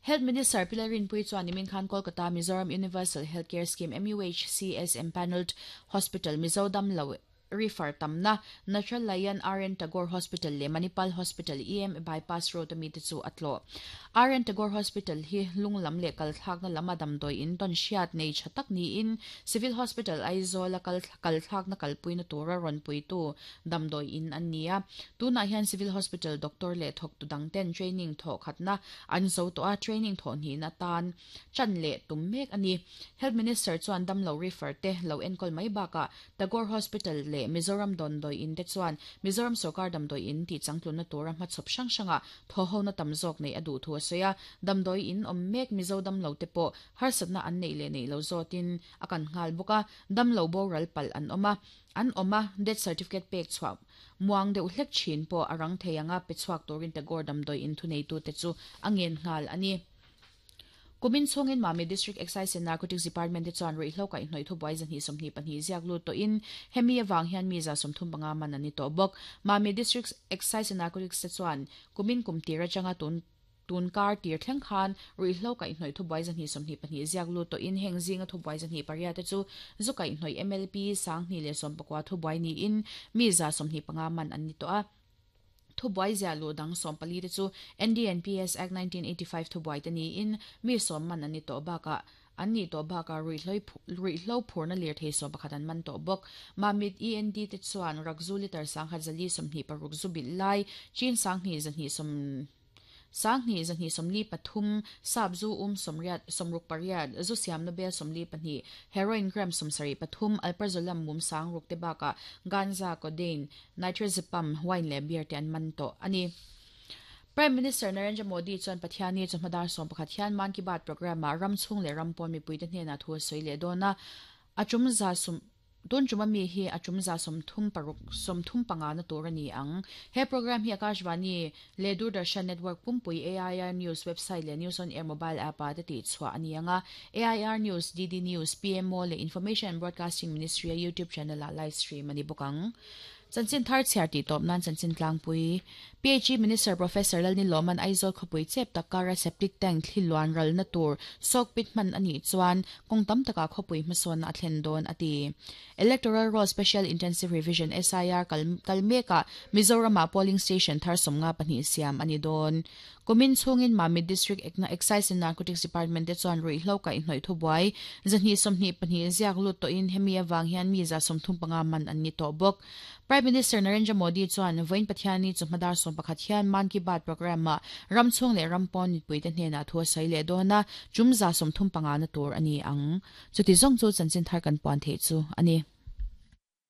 Health Minister Pi Lalrinpuii chuan nimin khan Kolkata Mizoram Universal Health Care Scheme, MUHCS, Empanelled Hospital, Mizo damlo refer tamna, Nachalayan RN Tagore Hospital leh Manipal Hospital EM Bypass Road a mite chu a tlawh. RN Tagore Hospital hi lung lam leh kal thlakna lama damdawi in tawn hriat nei tha tak niin Civil Hospital Aizawl a kal kal thlakna kalpuina tura rawn puitu damdawi in an ni a. Tunah hian Civil Hospital doctor leh thawktu dangten training thawh khatna an zo tawh a, training thawh hnihna tan chan leh tum mek a ni. Health Minister chuan damlo refer te lo enkawl mai bakah Tagore Hospital leh Mizoram Dawndawi In te chuan Mizoram Sorkar Damdawi In tih changtlunna tura hmachhawp hrang hrangah thawhhona tam zawk neih a duh thu a sawi a, damdawi in awm mek Mizo damlo te pawh harsatna an neih leh neih lo zawtin a kan nghal bawk a, damlo boral palh an awm a, an awm a, death certificate pek chhuah muang deuh hlek thin pawh a rang thei ang a, pe chhuak turin Tagore Damdawi In thuneitute chu a ngen nghal a ni. Kumin chhungin Mami District Excise and Narcotics Department te chuan ruihhlo kaihhnawih thubuai 122 ziak lut tawhin hemi avang hian mi 35 man an ni tawh bawk. Mami District Excise and Narcotics te chuan kumin kum tir atanga tun tun kar tir thleng khan ruihhlo kaihhnawih thubuai 122 ziak lut tawhin heng zinga thubuai 28 te chu zu kaihhnawih MLP 1019 thubuai niin mi 25 man an ni tawh a. Thubuai ziah luh dang 14 te chu NDNPS Act 1985 thubuai te niin mi sawm man an ni tawh bakah an nih tawh bakah ruihhlo phurna lirthei 11 an man tawh bawk. Mamit END te chuan rakzu litre 10,4 26 zu bilh lai chin 2,2 sawm 2243, sap zu um sawmriat 68, zu siamna bel 42, heroin gram 73, alprazolam mum 6000 te bakah ganja, codeine, nitrazepam, wine leh beer te an man tawh a ni. Prime Minister Narendra Modi chuan Pathianni chawhma dar 11 hian Mann Ki Baat programme-ah ram chhung leh ram pawn mipuite hnenah thu a sawi leh dawn a, a tum za sum Tun tum ami hi a tum za 36 35 na tur a ni ang. He program hi Akashvani leh Doordarshan Network pumpui AIR News website leh News on Air mobile app ah te tihchhuah a ni ang a. AIR News, DD News, PMO leh Information and Broadcasting Ministry a YouTube channel ah live stream a ni bawk ang. Chanchin thar chhiar tih tawp nan chanchin tlangpui. PHE Minister Professor Lalnilawman Aizawl khawpui chep tak kara septic tank thli luan ralna tur sawk pit hman a nih chuan kawng tam takah khawpui hmasawnna a thlen dawn a ti. Electoral Roll Special Intensive Revision, SIR, kal kal mekah Mizoramah polling station thar 52 siam a ni dawn. Kumin chhungin Mamit District Excise and Narcotics Department te chuan ruihhlo kaihhnawih thubuai 122 ziak lut tawhin hemi avang hian mi 35 man an ni tawh bawk. Prime Minister Narendra Modi chuan vawiin Pathianni chawhma dar 11 hian Mann Ki Baat programme-ah ram chhung leh ram pawn mipuite hnenah thu a sawi leh dawn a, tum 35 na tur a ni ang. Chuti zawng chu chanchin thar kan puan theih chu a ni.